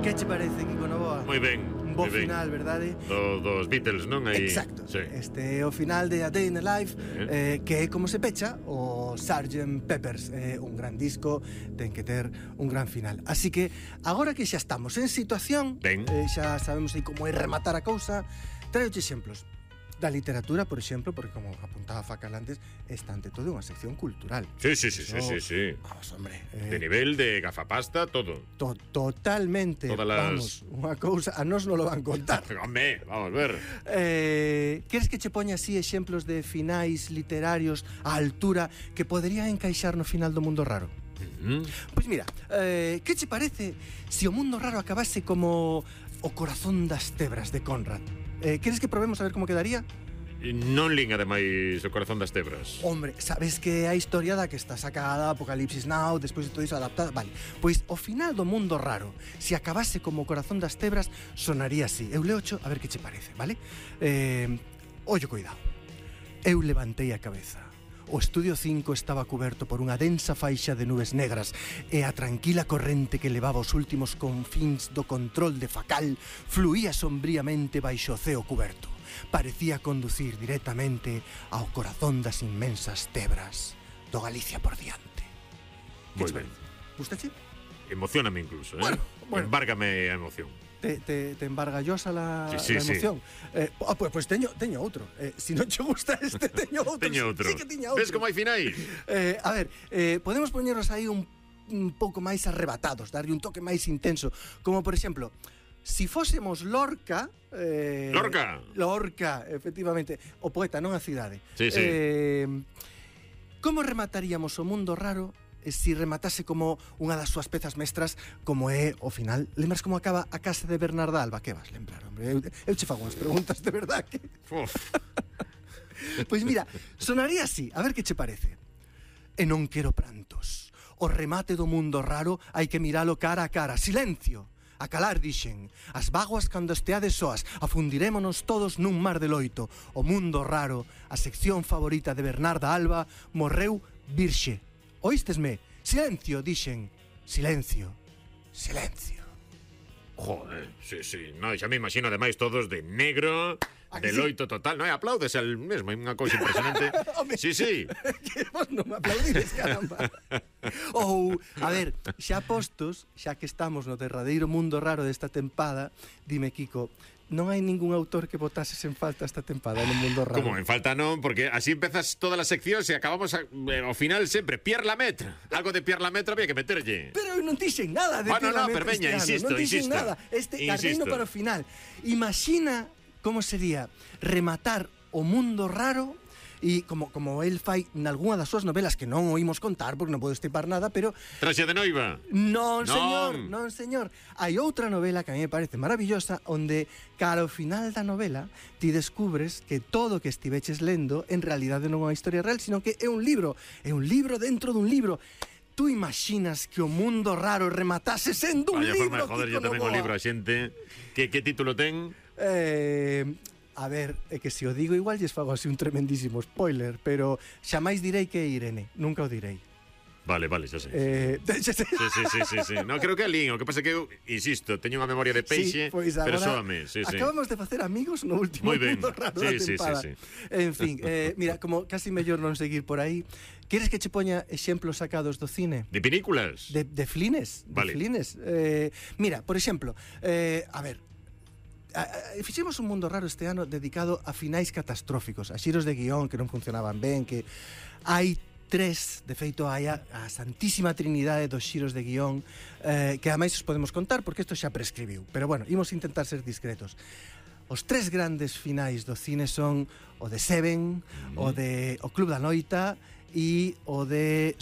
Que che parece, Kiko Novoa? Moi ben. Un bo final, verdade? Dos Beatles, non? Aí, Exacto. sí. Este é o final de A Day in the Life, que é como se pecha o Sgt. Pepper's. Un gran disco, ten que ter un gran final. Así que, agora que xa estamos en situación, xa sabemos aí como é rematar a cousa, traioche exemplos da literatura, por exemplo, porque como apuntaba Facal antes, está ante todo unha sección cultural. Sí. Vamos, hombre. De nivel de gafapasta, todo. Totalmente. Vamos, unha cousa, a nos non lo van contar. Home, vamos ver. Queres que che poña así exemplos de finais literarios á altura que poderían encaixar no final do Mundo Raro? Pois mira, que che parece se o Mundo Raro acabase como O corazón das tebras de Conrad? Queres que probemos a ver como quedaría? Non lín, ademais, O corazón das tebras. Hombre, sabes que a historia da que está sacada Apocalipsis Now, despois de todo iso adaptada. Vale, pois o final do Mundo Raro, se acabase como O corazón das tebras, sonaría así. Eu leocho a ver que che parece, vale? Ollo, cuidado. Eu levantei a cabeza. O estudio 5 estaba cuberto por unha densa faixa de nubes negras e a tranquila corrente que levaba os últimos confíns do control de Facal fluía sombríamente baixo o ceo cuberto. Parecía conducir directamente ao corazón das inmensas tebras do Galicia por diante. Moi ben. Gustache? Emocioname incluso, Bueno. Embárgame a emoción. Te embargallosa la emoción. Sí. Pues teño outro. Si non che gusta este, teño outro. Teño outro. Sí que tiña outro. Ves como hai finais? A ver, podemos poñernos aí un pouco máis arrebatados, darlle un toque máis intenso, como por exemplo, si fósemos Lorca... Lorca, efectivamente. O poeta, non a cidade. Sí. Como remataríamos o Mundo Raro si rematase como unha das súas pezas mestras, como é o final? Lembras como acaba A casa de Bernarda Alba? Que vas lembrar, hombre? Eu che fago unhas preguntas de verdad que... Pois mira, sonaría así, a ver que che parece. E non quero prantos. O remate do Mundo Raro hai que miralo cara a cara. Silencio! A calar, dixen. As vaguas cando esteades soas, afundirémonos todos nun mar de loito. O Mundo Raro, a sección favorita de Bernarda Alba, morreu virxe. Oístesme? Silencio, dixen. Silencio. Joder, sí. No, xa me imagino ademais todos de negro, de loito total. Non, aplaudes al mesmo, é unha cousa impresionante. Sí. Que vos non me aplaudides, caramba. Ou, a ver, xa postos, xa que estamos no derradeiro Mundo Raro desta tempada, dime, Kiko, non hai ningún autor que botases en falta esta tempada no Mundo Raro? Como en falta non, porque así empezas todas as seccións e acabamos ao final sempre Pierre Lemaitre. Algo de Pierre Lemaitre había que meterlle. Pero eu non dixen nada de Pierre Lemaitre. Pero veña, insisto. Non dixen nada. Carreino para o final. Imagina como sería rematar o Mundo Raro e como el fai nalgúna das súas novelas que non oímos contar porque non podo estipar nada, pero... Traxe de noiva? Non, señor. Hai outra novela que a mí me parece maravillosa onde, cara ao final da novela, ti descubres que todo o que estiveches lendo en realidade non é unha historia real, sino que é un libro dentro dun libro. Tú imaginas que o Mundo Raro rematase sendo un libro? Vaya forma de joder, yo tamén o libro a xente. Que título ten? A ver, é que se o digo igual lles fago así un tremendísimo spoiler, pero xamais direi que é Irene, nunca o direi. Vale, xa sei. Sí. No, creo que é lín, o que pasa que eu, insisto, teño unha memoria de peixe, pues pero soame, acabamos de facer amigos no último Mundo Raro da tempada. Sí. En fin, mira, como casi mellor non seguir por aí, queres que che poña exemplos sacados do cine? De películas? De flines, vale. Mira, por exemplo, a ver, fixemos un Mundo Raro este ano dedicado a finais catastróficos, a xiros de guión que non funcionaban ben, que hai tres, de feito hai a santísima trinidade dos xiros de guión, que ademais os podemos contar porque isto xa prescribiu, pero bueno, imos intentar ser discretos. Os tres grandes finais do cine son o de Seven, o Club da Noita e o de